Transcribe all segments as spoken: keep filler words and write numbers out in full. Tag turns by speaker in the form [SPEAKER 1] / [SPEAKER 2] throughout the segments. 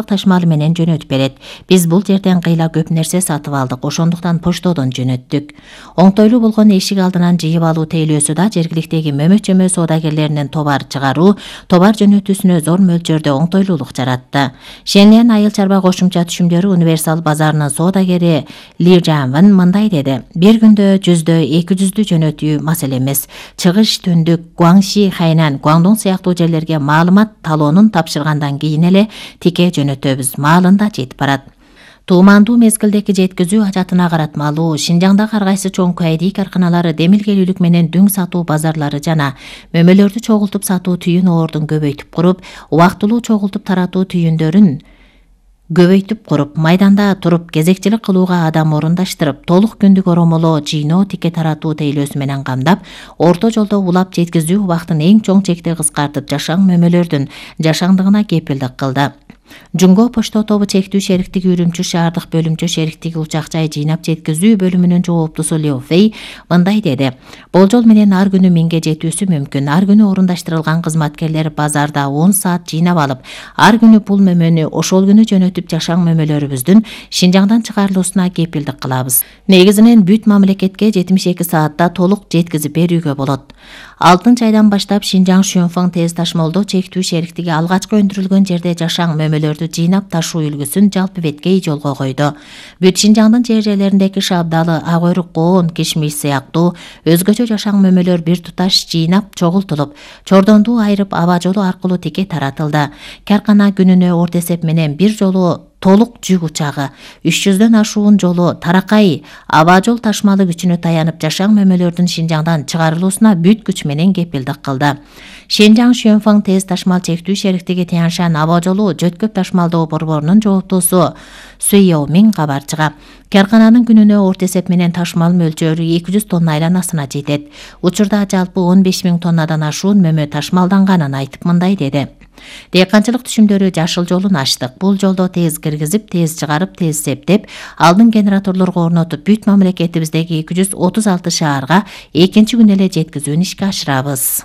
[SPEAKER 1] ташмалы менен жөнөтүп берет. Биз бул жерден кыйла көп нерсе сатып алдык, ошондуктан поштодон жөнөттүк. Оңтойлуу болгон эшик алдынан жыйып алуу тейлөөсү да жергиликтеги мөмө-чөмө соодагерлеринин товар чыгаруу, товар жөнөтүүсүнө зор мөлчөрдө оңтойлуулук жаратты. Шенлен айыл чарба кошумча түшүмдөрү универсал базарынын соодагери Ли Жанван мындай деди: бир күндө жүздө, эки жүздү жөнөтүү маселе эмес. Чыгыш Түндүк, Гуаңши, Хайнан, Гуаңдун сыяктуу жерлерге маалымат талоонун тапшыргандан кийин эле тике жөнөтөбүз. Маалында жетип барат. Туумандуу мезгилдеки жеткизүү ажатына каратмалуу Шинжаңдагы ар кайсы чоң кайдий карканалары демилгелүүлүк менен дүң сатуу базарлары жана мөмөлөрдү чогултуп сатуу түйүн оордун көбөйтүп куруп, убактылуу чогултуп таратуу түйүндөрүн көбөйтүп куруп, майданда туруп кезекчилик кылууга адам орундаштырып, толук күндүк оромолоо, жыйноо, тике таратуу тейлөөсү менен камдап, орто жолдо улап жеткизүү убактын эң чоң чекте кыскартып, жашаң мөмөлөрдүн жашаңдыгына кепилдик кылды. Жунго почто тобу чектүү шериктиги Үрүмчү шаардык бөлүмчө шериктиги учак жай жыйнап жеткизүү бөлүмүнүн жооптусу Лео Фей мындай деди: болжол менен ар күнү миңге жетүүсү мүмкүн. Ар күнү орундаштырылган кызматкерлер базарда он саат жыйнап алып, ар күнү бул мөмөнү ошол күнү жөнөтүп жашаң мөмөлөрүбүздүн Шинжаңдан чыгарылуусуна кепилдик кылабыз. Негизинен бүт мамлекетке жетимиш эки саатта толук жеткизип берүүгө болот. Алтынчы айдан баштап Шинжаң Шөнфоң тез ташмалдоо чектүү шериктиги алгачкы өндүрүлгөн жерде жашаң мөмөлөрдү жыйнап ташуу үлгүсүн жалпы беткей жолго койду. Бүт Шинжаңдын жер жерлериндеги шабдалы, ак өйрүк, коон, кишмиш сыяктуу өзгөчө жашаң мөмөлөр бир туташ жыйнап чогултулуп, чордонду айырып аба жолу аркылуу тике таратылды. Каркана күнүнө орто эсеп менен бир жолу толук жүк учагы, үч жүздөн ашуун жолу таракай аба жол ташмалы күчүнө таянып жашаң мөмөлөрдүн Шинжаңдан чыгарылуусуна бүт күч менен кепилдик кылды. Шинжаң Шөнфоң тез ташмал чектүү шериктиги Тяншан аба жолу жөткөп ташмалдоо борборунун жооптусу Суйо Миң кабарчыга. Каркананын күнүнө орто эсеп менен ташмал мөлчөрү эки жүз тонна айланасына жетет. Учурда жалпы он беш миң тоннадан ашуун мөмө ташмалданганын айтып мындай деди: Дыйканчылык түшүмдөрү жашыл жолун ачтык. Бул жолдо тез киргизип, тез чыгарып, тез септеп, алдын генераторлорго орнотуп, бүт мамлекетибиздеги эки жүз отуз алты шаарга экинчи күнү эле жеткизүүнү ишке ашырабыз.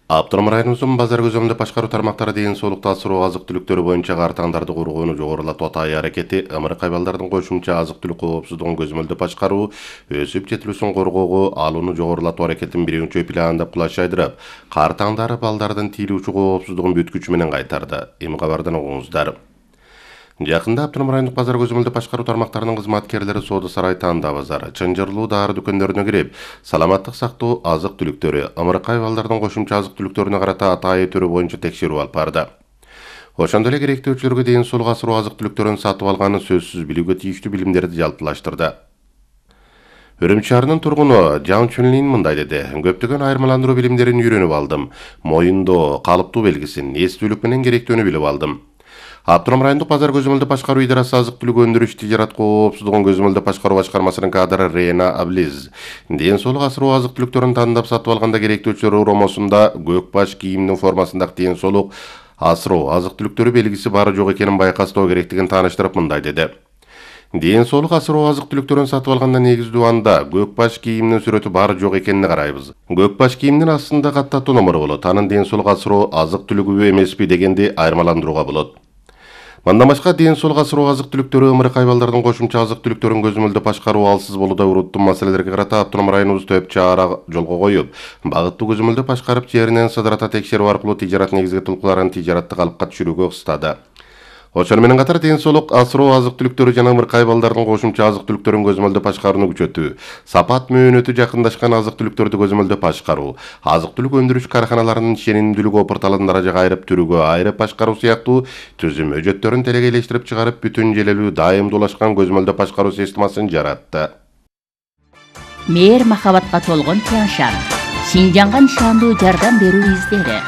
[SPEAKER 2] Автоном районубуздун базар көзөмөлдө башкаруу тармактары ден соолукту асыруу азык-түлүктөрү боюнча картаңдарды кургоону жогорулатуу атай аракети ымырык айбалдардын кошумча азык-түлүк коопсуздугун көзөмөлдө башкаруу, өсүп жетилүүсүн коргоого алууну жогорулатуу аракетин биринчи пландап кулаш жайдырып, картаңдары балдардын тийилүүчү коопсуздугун бүт күчү менен кайтарды. Эми кабардан угуңуздар. Жакында Автоном райондук базар көзөмөлдө башкаруу тармактарынын кызматкерлери Соода сарай Танда базары, Чынжырлуу дары дүкөндөрүнө кирип, саламаттык сактоо азык-түлүктөрү, ымырык айбалдардын кошумча азык-түлүктөрүнө карата атайы түрү боюнча текшерүү алып барды. Ошондой эле керектөөчүлөргө ден соолук асыруу азык-түлүктөрүн сатып алганы сөзсүз билүүгө тийиштүү билимдерди жалпылаштырды. Үрүмчү шаарынын тургуну Жан Чүнлин мындай деди: көптөгөн айырмаландыруу билимдерин үйрөнүп алдым. Моюндоо калыптуу белгисин, эстүүлүк менен керектөөнү билип алдым. Автоном райондук базар көзөмөлдө башкаруу идарасы азык-түлүк өндүрүш тижарат коопсуздугун көзөмөлдө башкаруу башкармасынын кадры Рена Аблиз ден соолук асыруу азык-түлүктөрүн тандап сатып алганда керектөөчүлөр уромосунда көк баш кийимдин формасындагы ден соолук асыроо азык-түлүктөрү белгиси бары жок экенин байкастоо керектигин тааныштырып мындай деди: ден соолук асыроо азык-түлүктөрүн сатып алганда негиздүү анда көк баш кийимдин сүрөтү бар жок экенине карайбыз. Көк баш кийимдин астында каттатуу номуру болот. Анын ден соолук асыроо азык-түлүгүбү эмеспи дегенди айырмаландырууга болот. Мындан башка ден соолук асыроо азык-түлүктөрү, ымырык айбалдардын кошумча азык-түлүктөрүн көзөмөлдө башкаруу алсыз болууда уруттуу маселелерге карата Автоном районубуз төп чара жолго коюп, багыттуу көзөмөлдө башкарып, жеринен сыдырата текшерүү аркылуу тижарат негизги тулкуларын тижаратты калыпка түшүрүүгө ыкстады. Ошону менен катар ден соолук асыроо азык-түлүктөрү жана ымырык айбалдардын кошумча азык-түлүктөрүн көзөмөлдө башкарууну күчөтүү, сапат мөөнөтү жакындашкан азык-түлүктөрдү көзөмөлдө башкаруу, азык-түлүк өндүрүш карканаларынын ишенимдүүлүгү опурталын даражага айырып, түрүгө айырып башкаруу сыяктуу түзүм өжөттөрүн телегейлештирип чыгарып, бүтүн желелүү дайымдуулашкан көзөмөлдө башкаруу системасын жаратты.
[SPEAKER 3] Мээр махабатка толгон Тяншан, Шинжаңга нишандуу жардам берүү издери.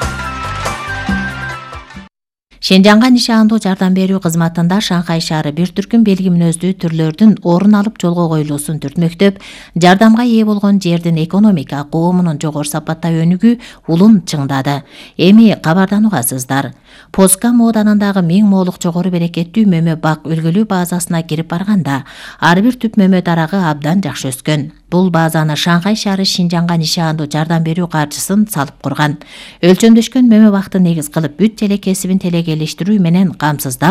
[SPEAKER 1] Шинжаңга нишандуу жардам берүү кызматында Шанхай шаары бир түркүм белги мүнөздүү түрлөрдүн орун алып жолго коюлуусун түртмөктөп, жардамга ээ болгон жердин экономика, коомунун жогору сапатта өнүгүү улун чыңдады. Эми кабардан угасыздар. Поска мооданындагы миң моолук жогору берекеттүү мөмө бак үлгүлүү базасына кирип барганда, ар бир түп мөмө дарагы абдан жакшы өскөн. Бул базаны Шанхай шаары Шинжаңга нишандуу жардам берүү каржысын салып курган. Өлчөмдөшкөн мөмө бакты негиз кылып бүт эле кесибин телегейлештирүү менен камсыздап,